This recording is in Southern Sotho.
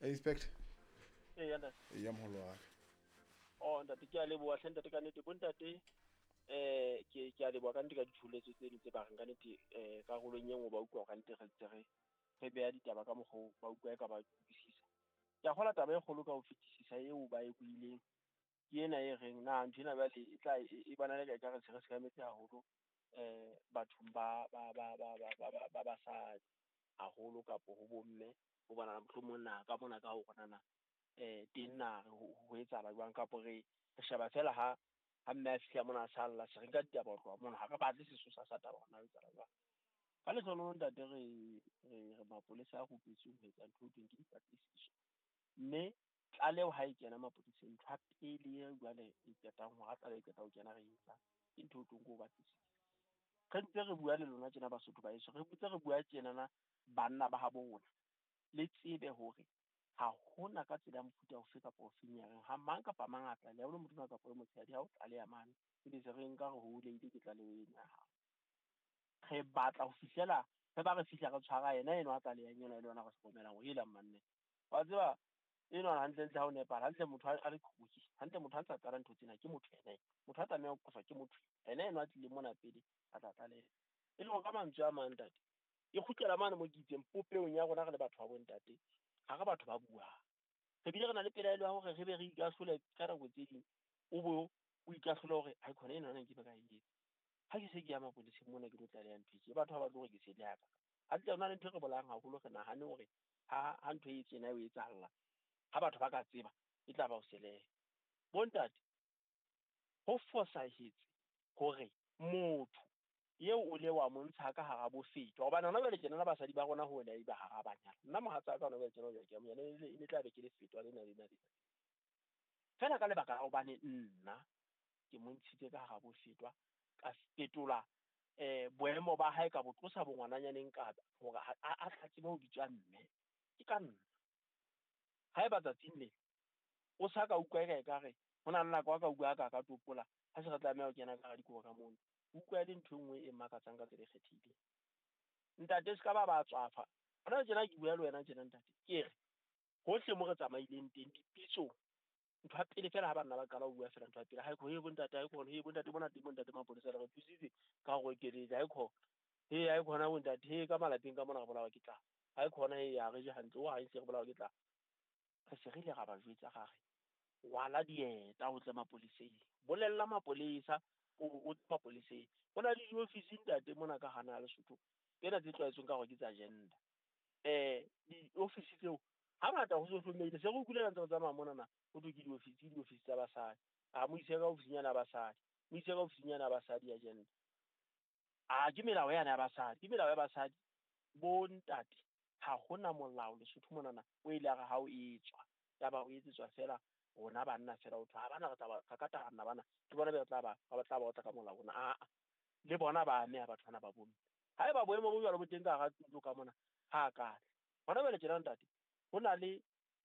Inspector. Eya ntate. Eya moholo wa ka. Oh ntate, ke a leboha hle ntate ka nnete. Bo ntate, ke a leboha ka nnete ka ditsholetso tseno tse ba reng ka nnete, karolong e nngwe ba utlwa ka nnete re ntse re beha ditaba ka mokgwa oo, ba utlwa e ka ba utlwisisa. Ke a kgolwa taba e kgolo ka ho fetisisa eo ba e buileng ke ena e reng na ntho ena jwale e tla e bonala ekare se re sekametse haholo bathong ba basadi haholo kapo ho bomme, ho bonahala mohlomong na ka mona ka ho rona na teng na ho etsahala jwang, kapo re sheba fela ha mme a fihla mona a salla, se re nka ditaba ho tloha mona, ha re batle sesosa sa taba hore na ho etsahala jwang. Ka lehlohonolo ntate, re mapolesa a rupetsweng ho etsa ntho eo thweng ke dipatlisiso, mme tlaleho ha e kena mapoleseng, ntho ya pele e jwale e qetang hore ha tlaleho e qeta ho kena re etsa ke ntho eo thweng ke ho batlisisa. Re ntse re bua le lona tjena Basotho ba heso, re ntse re bua tjenana banna ba habo rona, le tsebe hore ha hona ka tsela ya mofuta ofe kapa ofeng ya reng ha mang kapa mang a tlaleha, o le motona kapa o le motshehadi, ha o tlaleha mane ebe se re nka re holehile ke tlaleho ena ya hao. Re batla ho fihlela re ba re fihla re tshwara yena enwa a tlalehang enwa e le yona re hlokomelang hore helang manne. Wa tseba enwa hantlentle ha o nepahala, hantle motho a le qhoki, hantle motho a ntsa qala ntho tsena ke motho ena. Motho a tlameha ho qoswa ke motho ena enwa a tlileng mona pele a tla tlaleha. E le hore ka mantswe a mang ntate, e kgutlela mane mo ke itseng popehong ya rona re le batho ba bontate, ha re batho ba buang. Re bile re na le pelaelo ya hore re be re ikahlole ka nako tse ding, o bo o ikahlole hore ha khona ena nna nke be ka e etsa. Ha ke se ke ya mapoleseng mona ke tlo tlaleha ntho e tje, batho ha ba batle hore ke se le haka. Hantle hona le ntho e re bolayang haholo, re nahane hore ha ntho e tjena e etsahalla, ha batho ba ka tseba e tla ba ho seleha. Bontate, ho fosahetse hore motho eo o le wa montsha ka hara bofetwa, hobane hona jwale tjenana basadi ba rona ho wena eba hara banyana. Nna mohatsa ka hona jwale tjena ke a mo yena, e ne tla be ke le fetwa lena lena lena. Fela ka lebaka la hobane nna ke mo ntshitse ka hara bofetwa, ka fetola boemo ba hae, ka bo tlosa bongwananyaneng ka hore a tla tsebe ho bitswa mme. Ke ka nna. Haeba tsatsing le o sa ka utlwa eka ekare ho na le nako a ka utlwa ka topola, ha se re tlameha ho kena ka hara dikobo ka mono, utlwa le ntho e nngwe e makatsang ka tsela e kgethehileng. Ntate, se ka ba tswafa. Hona tjena ke bua le wena tjena ntate, ke re hohle mo re tsamaileng teng dipitsong, ntho ya pele fela ha banna ba qala ho bua fela ntho ya pele, ha e he bontate, ha e he bontate, mona teng bontate mapolesa le re thusitse ka hore ekeletsa, ha e khona, he ha e khona bontate, he ka malapeng ka mona re bolawa ke tlala, ha e khona, he ha re je hantle, o ha e se re bolawa ke tlala. Re se re ile ra ba jwetsa ra re rwala dieta o tle mapoleseng, bolella mapolesa o tle mapoleseng. Ho na le diofisi ntate mona ka hana Lesotho tsena tse tlwaetsweng ka hore ke tsa gender. Diofisi tseo hangata ho social media se re utlwile ntse re tsamaya monana, ho thwe ke diofisi, diofisi tsa basadi. A mo ise ka ofisinyana ya basadi, mo ise ka ofisinyana ya basadi ya gender. A ke melao yana ya basadi, ke melao ya basadi. Bo ntate, ha hona molao Lesotho monana o ile a re ha o etswa, ya ba o etsetswa fela rona banna fela, ho thwe ha bana re tla ba re ka banna bana, ke bona be re tla ba ba tla ba otla ka molao ona. Aa, le bona ba ameha batho bana ba bomme. Haeba boemo bo jwalo bo teng ka hara ntlo ka mona, ha ka hona jwale tjena ntate, ho na le